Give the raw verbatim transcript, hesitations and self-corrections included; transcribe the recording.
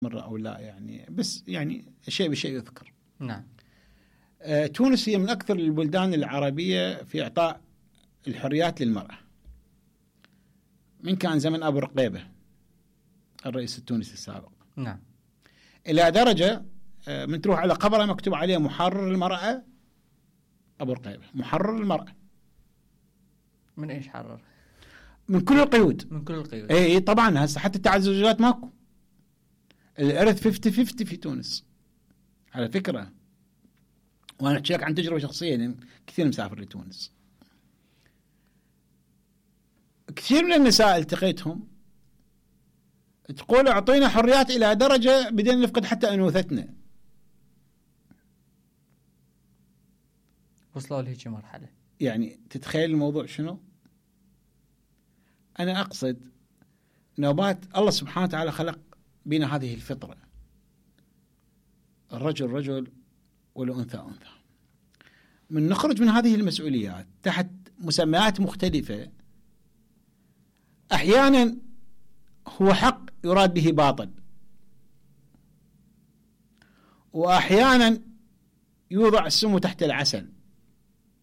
مرة أو لا يعني، بس يعني شيء بشيء يذكر. نعم. آه تونس هي من أكثر البلدان العربية في إعطاء الحريات للمرأة. من كان زمن أبو رقيبة الرئيس التونسي السابق. نعم. إلى درجة آه من تروح على قبره مكتوب عليه محرر المرأة أبو رقيبة، محرر المرأة. من إيش حرر؟ من كل القيود. من كل القيود. اي طبعا هسه حتى التعززات ماكو. الارث خمسين خمسين في تونس على فكره، وانا احكي لك عن تجربه شخصيه لان كثير مسافر لتونس. كثير من النساء التقيتهم تقول اعطينا حريات الى درجه بدينا نفقد حتى انوثتنا. وصلوا لهيك مرحله. يعني تتخيل الموضوع شنو؟ انا اقصد نوبات الله سبحانه وتعالى خلق بنا هذه الفطرة، الرجل رجل والأنثى أنثى. من نخرج من هذه المسؤوليات تحت مسميات مختلفة، أحيانا هو حق يراد به باطل، وأحيانا يوضع السم تحت العسل.